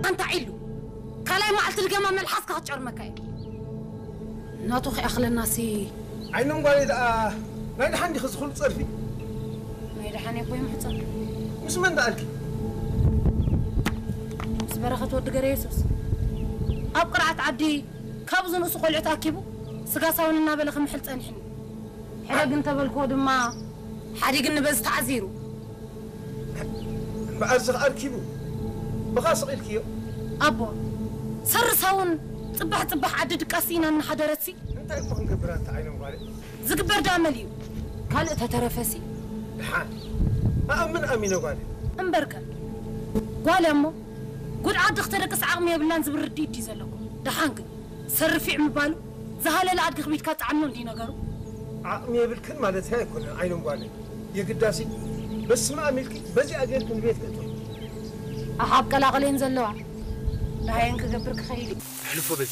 ኣንታ ዒሉ፣ ካልኣይ መዓልቲ ድገማ መልሓስካ ክትጨርመካ እየ። ናቱ ከይኣኽለናሲ። ዓይኖም ጓለይ ደኣ ናይ ደሓን ዲኺ ዝኹሉ ጸርፊ? ናይ ደሓን እኮ ይምሕጸን። ምስ መን ደኣልኪ? ምስ በረኸት ወዲ ገረ የሱስ ኣብ ቅርዓት ዓዲ ካብ ዝንእሱ ቆልዑ ተኣኪቡ ስጋ ሳውን እናበለ ክምሕል ጸኒሕኒ። ሕደግ እንተበልክዎ ድማ ሓዲግኒ በዚ ተዓዚሩ። እምበኣር እዚ ኣርኪቡ ብኻ ስቕ ኢልክዮ? ኣቦ፣ ሰሪ ሳውን ጽባሕ ጽባሕ ዓዲ ድቃስ ኢና እናሓደረትሲ። እንታይ እኮ ክንገብር ኣንታ ዓይኖም ጓለይ? ዝግበር ደኣ መሊኡ ካልእ ተተረፈሲ። ደሓን ኣኣምን ኣሚነ ጓለይ። እምበርከ ጓል እሞ ጉድ ዓዲ ክተደቅስ ዓቕሚ የብላን ዝብል ርድኢት ድዩ ዘለኩም? ደሓን ግን ሰሪ ፊዕ ምባሉ ዝሃለለ ኣድጊ ክቢድካ ጻዕኖ እንዲ ነገሩ። ዓቕሚ የብልክን ማለት ኣይኮነን ዓይኖም ጓለይ። የግዳሲ በስመ ኣብ ኢልኪ በዚኣ ጌርኪ ንቤት ክእቶ። ኣሓብ ቀላቕሌን ዘለዋ ደሃየን ክገብር ክኸይድ እዩ። ሕልፎ በዚ